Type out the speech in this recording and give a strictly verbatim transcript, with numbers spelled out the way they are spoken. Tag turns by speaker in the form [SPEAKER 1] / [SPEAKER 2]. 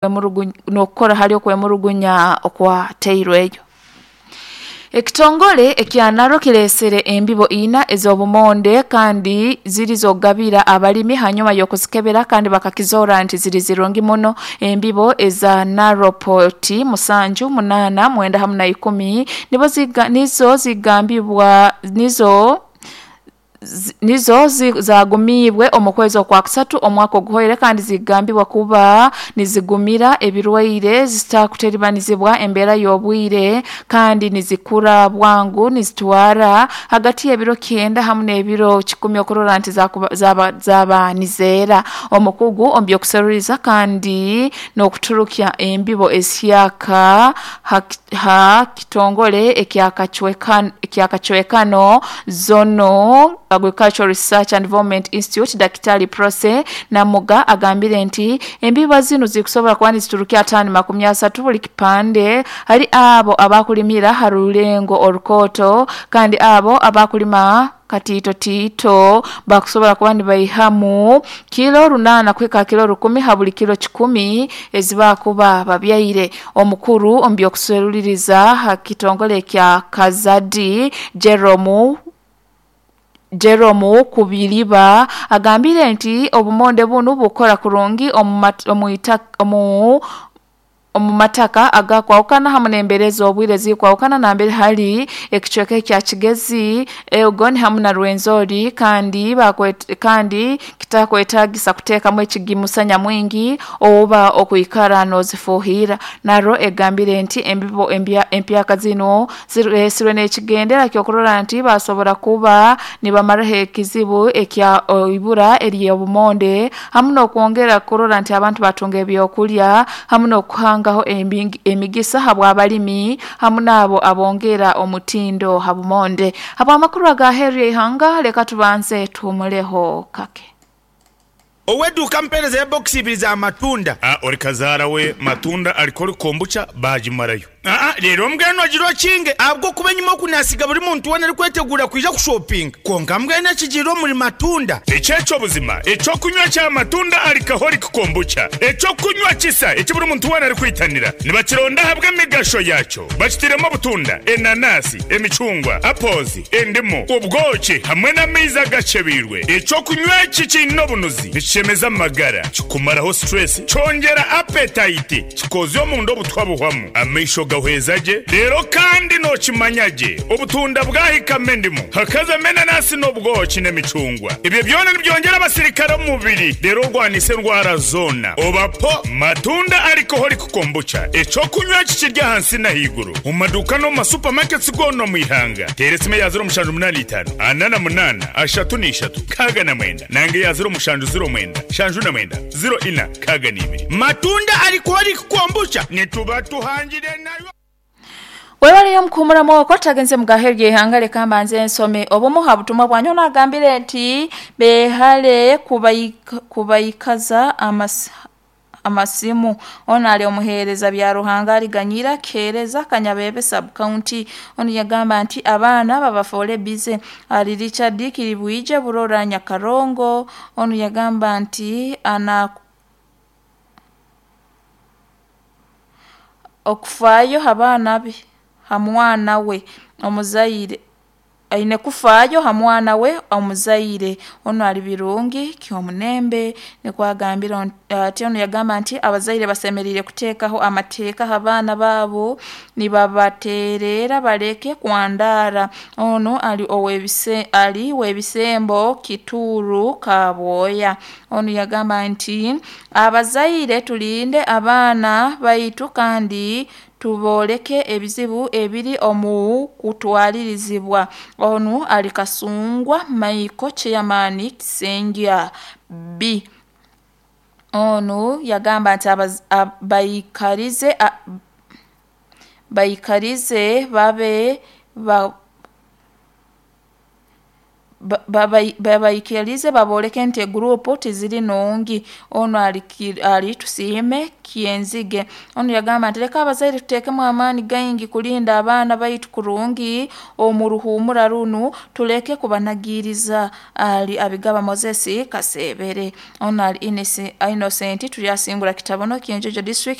[SPEAKER 1] N'okukora hali okwemurugunya okwateirweyo. Ekitongole ekya NARO kireesere embibo ina ez'obumonde kandi ziri z'okugabira abalimi hanyuma y'okuzikebera kandi bakakizoora nti ziri zirungi muno. Embibo eza NARO poti musanju, munaana, mwenda hamu na ikumi nibo ziga nizo zigambibwa nizo nizo zaagumiibwe omu kwezi okwakusatu omwaka oguhoire kandi zigambibwa kuba nizigumira ebirwaire zitakuteribanizibwa embeera y'obwire kandi nizikura bwangu nizitwara hagati y'ebiro kyenda hamu n'ebiro kikumi okurora nti zakuba zaba zaba nizeera. Omukugu omu by'okuseruriza kandi n'okuturukya embibo ezihyaka ha ha kitongole ekya Kachweka ekya Kachwekano Zonal Agricultural Research and Development Institute Daktari Prose Namuga agambire nti embibo zinu zikusobola kuba niziturukya ataano makumi asatu buli kipande hari abo abakulimira ha rulengo orukooto kandi abo abakulima katiitotiito bakusobola kuba nibaihamu kilo runaana kuhika kilo rukumi ha buli kilo kikumi ezibakuba babyaire. Omukuru omu by'okuseruliriza ha kitongole ekya Kazadi Jerome Jerome Kubiriba agambire nti obumonde bunu bukora kurungi omu omu omu mataka agakwahukana hamu n'embeera ez'obwire ezikwahukana nambere hali ekicweka ekya Kigezi, Elgon hamu na Rwenzori kandi bakwet kandi kitakwetaagisa kuteekamu ekigimusa nyamwingi oba okwikara noozifuuhirra. NARO egambire nti embibo empya empyaka zinu zireesirwe n'ekigendera ky'okurora nti basobora kuba nibamaraho ekizibu ekya ibura ery'obumonde hamu n'okwongera kurora nti abantu batunga ebyokulya hamu n'okuhangaho emigisa habw'abalimi hamu n'abo abongera omutindo ha bumonde. Habw'amakuru aga heeru y'eihanga leka tubanze tuhumuleho kake.
[SPEAKER 2] Ow'edduuka mpeereza ya bokisi ibiri za matunda.
[SPEAKER 3] Ah, ori kazaara we matunda alikora kombucha bagimarayo.
[SPEAKER 2] Aa leero mbwenu ogira okinge ahabw'okuba enyuma okunasiga buri muntu weena arikwetegura kwija kushopinga konka mbwenu ekigiire omuri matunda.
[SPEAKER 3] Ekyekyo buzima ekyokunywa kya matunda alcoholic kombucha ekyokunywa kisa eki buri muntu weena arikwitanira nibakironda ahabw'emigasho yakyo bakitiremu obutunda, enanasi, emicungwa, apples, endimu, obwoki hamwe n'amaizi agacebiirwe. Ekyokunywa eki kiine obunuzi, nikishemeza amagara, kikumaraho stress, kyongera appetite, kikozya omunda obutwa buhwamu, amaisho gahweza gye. Rero kandi nookimanya gye obutunda bwahikamu endimu hakazamu enanasi n'obwoki n'emicungwa, ebyo byona nibyongera abasirikare omu mubiri rero orwanisa endwara zoona. Obapo matunda alcoholic kombucha ekyokunywa kikirya ahansi n'ahaiguru omu maduuka n'omu masupamaketi goona omu ihanga. Teera esimu eya ziro mushanju munaana itaano ana na munaana ashatu n'ishatu nkaaga na mwenda nanga eya ziro mushanju ziro mwenda shanju na mwenda ziro ina nkaaga n'ibiri.
[SPEAKER 2] Matunda alcoholic kombucha nituba tuhangire nayo.
[SPEAKER 1] Webaleyo mukuhumuramu okwo tagenze mugaheru y'eihanga leka mbanze nsome obumu ha butumwa bwanyu. Onagambire nti beehale kubaika kubaikaza amasi amasimu. Ono ali omuheereza bya Ruhanga aliganyira Keereza Kanyabebe sub-county. Onu yagamba nti abaana babafoole bize. Ali Richard Kiribwije Burora Nyakarongo. Onu yagamba nti ana okufaayo ha baana be ha mwana we omuzaire aine kufaayo ha mwana we omuzaire. Onu ali Birungi Kyomunembe nikwo agambire ati. Onu yagamba nti abazaire basemeriire kuteekaho amateeka ha baana baabo nibabateerera baleke kwandaara. Onu ali ow'ebise ali w'ebisembo Kituuru Kabwoya. Onu yagamba nti abazaire tulinde abaana baitu kandi tubooleke ebizibu ebiri omu kutwalirizibwa. Onu ali Kasungwa Michael chairman Kisengya B. Onu yagamba nti baikarize baikarize babe ba Babaikirize baboleke nti egurupu tiziri nungi. Onu ali Tusiime Kyenzige. Onu yagamba nti leka abazaire tuteekemu amaani gaingi kulinda abaana baitu kurungi omu ruhuumura runu, tuleke kubanagiiriza. Ali Abigaba Moses Kasebere. Onu ali Innocent Turyasingura Kitabono, Kyenjojo district.